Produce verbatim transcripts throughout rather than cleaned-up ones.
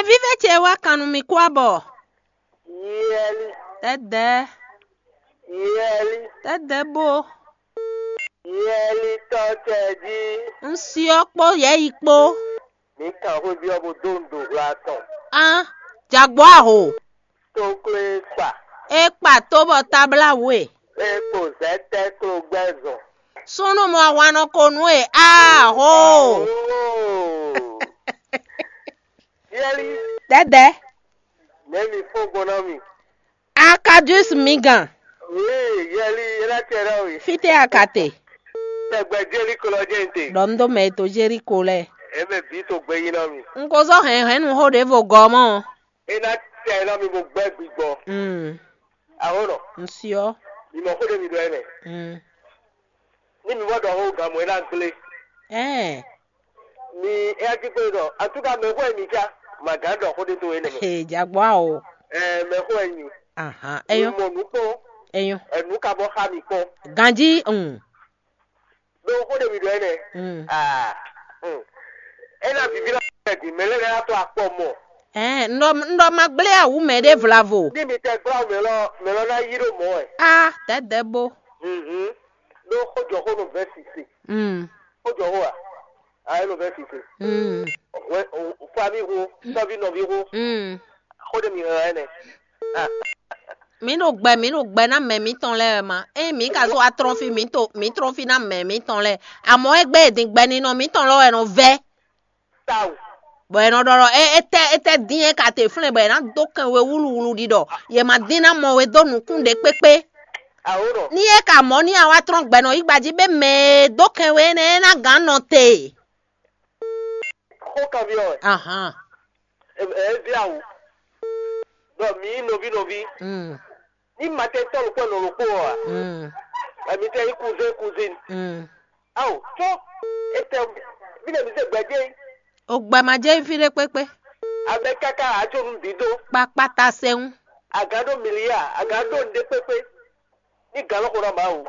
Vívɛ ce wá kan nú mi kú abɔ. Yɛli, Tɛ́dɛ́, yɛli, tɛ́dɛ́ bó. Yɛli tɔ tɛ jí. Un syɔ́ kpó yɛ́yi kpó. Mi kan xwé byɔ́ bó dó nǔ ɖo hwla tɔn. Án, jagbó aho. Tó klé kpa. É kpa tó bɔ táblá wú e. É kpo zɛ̌ tɛ́ klo gbɛ́ zɔn. Súnnu mɔ ahwan nɔ ko nú e. Aho. Oh. Yɛli, Tɛ́dɛ́. Nɛ̌ mi fɔ́n gbɔn ná mi? Akadus mi gàn. Wíi, yɛli, é ná tɛ ɖɔ we. Fítɛ́ akate. Tɛgbɛ Jeriko lɔ jɛ́n te. Ɖɔ un dó mɛ e to Jeriko lɛ́ɛ. Eme bǐ to gbé yí ná mi. Un ko zɔ́ hɛ̌nhɛ́nnu xó ɖěvo gɔ́ mɔ́. É ná tɛ ná mi bó gbɛ́ gbigbɔ. Mm. Ahónɔ, Un syɔ́. Mi mɔ xó ɖé mi ɖɔ ɛnɛ. Mm. Ní mi mɔ ɖɔ xó gǎn mɔ é ná gblé. Ɛɛ. Mi é ná jí kpé ɖɔ. Antúka mɛ xó ɛ mi cá. Màgán ɖɔ xó ɖé tó énɛ́ mɛ. He jagbɔ awo. Ɛɛ, mɛ xó ɛ nyi. Ahan. Mi Eyɔn. Mɔ nǔ kpɔ́n. Eyɔn. Ɛnu ka bɔ xa mi kpɔ́n. Ganji. Mm. Ɖó xó ɖé mi ɖɔ ɛnɛ. Mm. Ah. Mm. É ná viví ná ɛ din mɛ lɛ́ ná tó akpɔ mɔ. Ɛɛ, n ɖɔ n ɖɔ ma gblé awu mɛ ɖé vlavo. Ní mi tɛ gbla mɛ lɔ mɛ lɔ ná yí ɖó mɔ ɛ. A tɛdɛ bo. Mhm. Ɖó xójɔxó nɔ vɛ sise. Mm. Xójɔxó a? A é nɔ vɛ sise. Mm. Wɛ o fami xó, sɔvi nɔvi xó. Mm. Xó ɖé mi hɛn ɛnɛ. Ah. Mǐ ɖo gbɛ mǐ ɖo gbɛ ná mɛ mǐtɔn lɛ́ɛ wɛ ma. Ényí mǐ ka zó wá trɔ́n fí mǐ to mǐ trɔ́n fí ná mɛ mǐtɔn lɛ́ɛ. Amɔ̌ égbé e din gbɛ ninɔ mǐtɔn lɔ wɛ nɔ vɛ́. Tawu. Bɔ è nɔ ɖɔ ɖɔ é étɛ́ étɛ́ dín é ka te flɛ́n bɔ è nǎ dó kɛn we wúluwulu ɖi ɖɔ yě ma dín ná mɔ we dó nǔkún ɖě kpékpé. Awo nɔ. Ní é ka mɔ̌ ní a wá trɔ́n gbɛ nɔ yí gbají bɛ mɛ e dó kɛn we énɛ́ é ná gǎn nɔ te. Xó kanbyɔ́ wɛ. Ahan. Ɛ ɛ via wò. Ɖɔ mǐ nyí nɔví nɔví. Mm. Ní ma tɛ tɔ́ ɖokpó ɛnɔ ɖokpó ɔ́ a? Mm. Ɛmi tɛ nyí kuzɛ́n kuzín. Mm. Awo tó. Étɛ bí lè mi zé gbɛdé. O gbɛ ma jẹ́ fí ɖé kpékpé. Abɛ káká ajo nu dídó. Kpakpata sɛŋu. Aga ɖó milia, aga ɖó nɖé kpékpé. Ní gan lɔ xo ná Mawu.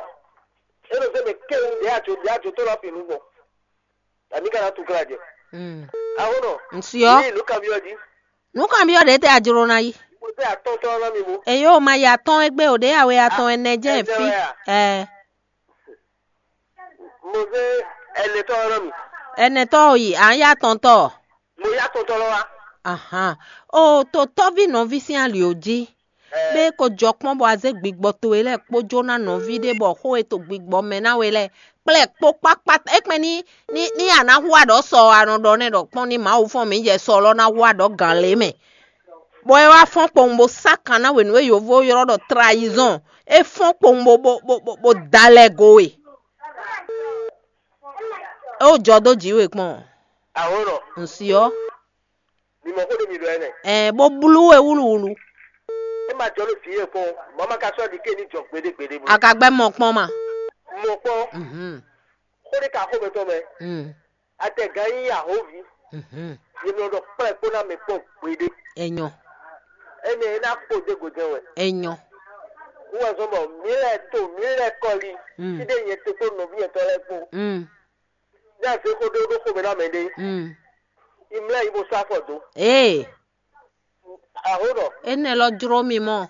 É nɔ zé mɛ kéwu ɖě ajo ɖě ajo tó lɔ fi nu gbɔn. Ami ka ná tu glá jɛ. Mm. Awo nɔ. Nsiɔ. Ní ìlú kanbyɔ́ jí. Nǔ kanbyɔ́ ɖě tɛ a jló ná yi? Mo zé atɔ́ntɔ́ ná mi mo. Èyí ò ma yi atɔ́n égbé ò ɖě awe atɔn ɛnɛ jẹ́ Ɛnɛ fi. Wɛ a? Ɛ Mo zé ɛnɛtɔ́ ná mi. Ɛnɛtɔ́ ò yi à ń yá atɔntɔ́. Mo yá atɔntɔ́ lɔ wá. Ahan. O to tɔ́ví nɔví sín ali ò jí. Ɛ Bɛ ko jɔ kpɔ́n bɔ a zé gbigbɔ towe lɛ́ɛ kpó jó ná nɔví ɖé bɔ xó e to gbigbɔ mɛ ná we lɛ́ɛ kplɛ́ kpó kpákpá é kpɛn ní ní ní a ná hu aɖɔ sɔ a nɔ ɖɔ nɛ́ ɖɔ kpɔ́n ní Mawu fɔ́n mǐ jɛ sɔ lɔ ná hu aɖɔ gǎn lě mɛ. Bɔ é wá fɔ́n kpowun bó sá kan ná we nǔ e yovo ylɔ́ ɖɔ trayizɔn. É fɔ́n kpowun bó bó bó bó bó da lɛ go we. É wó jɔ dó jǐ we kpɔ́n. Awo nɔ. Nsiɔ. Mi mɔ xó ɖé mi ɖɔ ɛnɛ. Ɛ bó blú we wúluwúlu. É ma jɔ ɖo vǐ e kpɔn. Mama ka sɔ́ ɖi ké ní jɔ gbeɖé gbeɖé bó. A ka gbɛ mɔ kpɔ́n ma. Mɔ kpɔ́n. Mhm. Xó ɖé ka xó mɛ tɔn mɛ. Mm. Atɛgán yí ahovi. Mhm. Yě nɔ ɖɔ kplɛ́ kpó ná mɛ kpɔ́n gbeɖé. Enyɔ. Énɛ́ é ná kpo dé gǒjɛ́n wɛ. Enyɔ. Wúwɛzɔn bɔ mǐ lɛ́ to mǐ lɛ́ kɔli. Mm. Fíɖé nyɛ to kpó nɔví yɛtɔn lɛ́ɛ kpó. Mm. Ní a zé xó ɖé ɖó xomɛ ná mɛ ɖé. Mm. Imlɛ yi bó sá afɔ dó. Ee. Aho nɔ. Énɛ́ lɔ jló mi mɔ.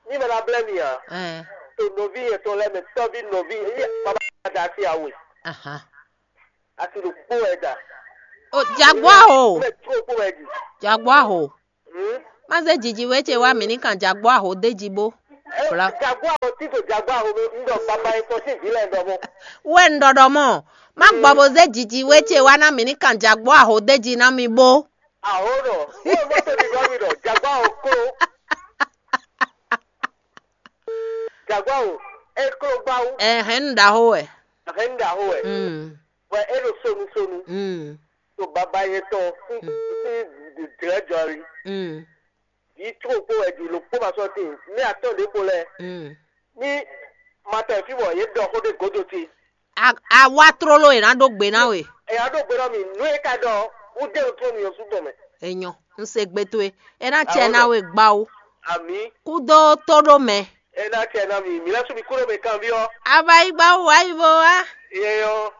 Ní mɛ ná blɛ́ mi ǎ. Ɛ. To nɔví yɛtɔn lɛ́ɛ mɛ tɔ́ví nɔví yɛ baba da asi awe. Aha. Asi ɖo kpó wɛ da. O jagbɔ aho. Mɛ tó kpó wɛ di. Jagbɔ aho. Hmm? Má zé jiji wé ce wá mǐ ní kan jagbɔ aho d'é jí bó. Ɛ, Bla. Jagbɔ aho tí to jagbɔ aho mi ń dɔ baba yẹn tɔ sí ìbílẹ̀ ń dɔ mọ́. Wɛ ń ɖɔɖɔ mɔ. Má gbɔ bó zé jiji wé ce wá ná mǐ ní kan jagbɔ aho d'é jí ná mi bó. Aho nɔ. Wọ́n mọ́ tó di bá mi nọ. Jagbɔ aho kó. Jagbɔ aho. E kó gbáwó. Ɛhɛn, ń ɖaho wɛ. Ɛhɛn, ń ɖaho wɛ. Mm. Wɛ e ɖo sonu sonu. Mm. To baba yɛn tɔn sí sí dlɛ̌ jɔli. Mm. Vǐ tó kpó wɛ ɖi lo kpó ma sɔ́ tíin. Ní atɔ́ ɖě kpo lɛ́ɛ. Mm. Ní ma tɛ fí bɔ yě ɖɔ xó ɖé gǒdo ce. A- a wá tlóló è nǎ ɖó gbe ná we. È nǎ ɖó gbe ná mi nǔ e ka ɖɔ wú dé wútu mi ɔ́ sú tɔn mɛ. Enyɔ, un se gbe towe. É ná tiɛ ná we gbá wú. Àmì. Kúdó tó ɖó mɛ. É ná tiɛ ná mi mǐ lɛ́ sú mi kú ɖó mɛ kanví ɔ́. Ava yi gbá wú wá yi vo wá. Yɛ yɔ.